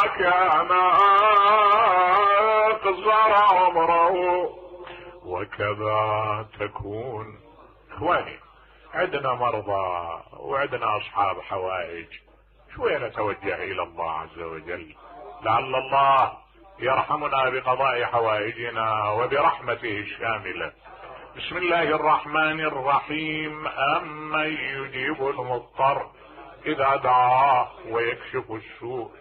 كان قصر عمره وكذا تكون. اخواني، عندنا مرضى وعندنا اصحاب حوائج، شوية نتوجه الى الله عز وجل لعل الله يرحمنا بقضاء حوائجنا وبرحمته الشاملة. بسم الله الرحمن الرحيم. أمن يجيب المضطر إذا دعاه ويكشف السوء.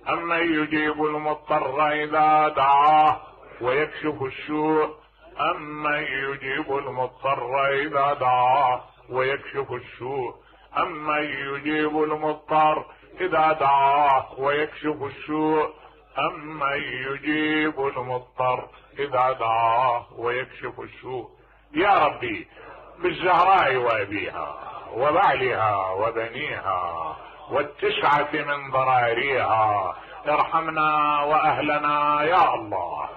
أمن يجيب المضطر إذا دعاه ويكشف السوء. أمن يجيب المضطر إذا دعاه ويكشف السوء. أمن يجيب المضطر إذا دعاه ويكشف السوء. أمن يجيب المضطر إذا دعاه ويكشف السوء. يا ربي، بالزهراء وأبيها وبعلها وبنيها والتسعة من ضراريها ارحمنا وأهلنا يا الله.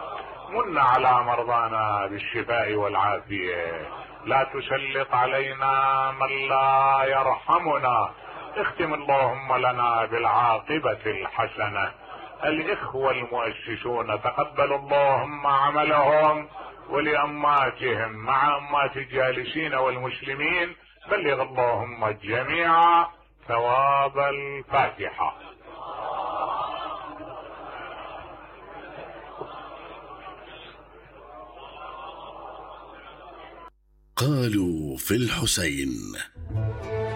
من على مرضانا بالشفاء والعافية، لا تسلط علينا من لا يرحمنا. اختم اللهم لنا بالعاقبة الحسنة. الإخوة المؤسسون تقبل اللهم عملهم، ولأماتهم مع أمات الجالسين والمسلمين بلغ اللهم الجميع ثواب الفاتحة. قالوا في الحسين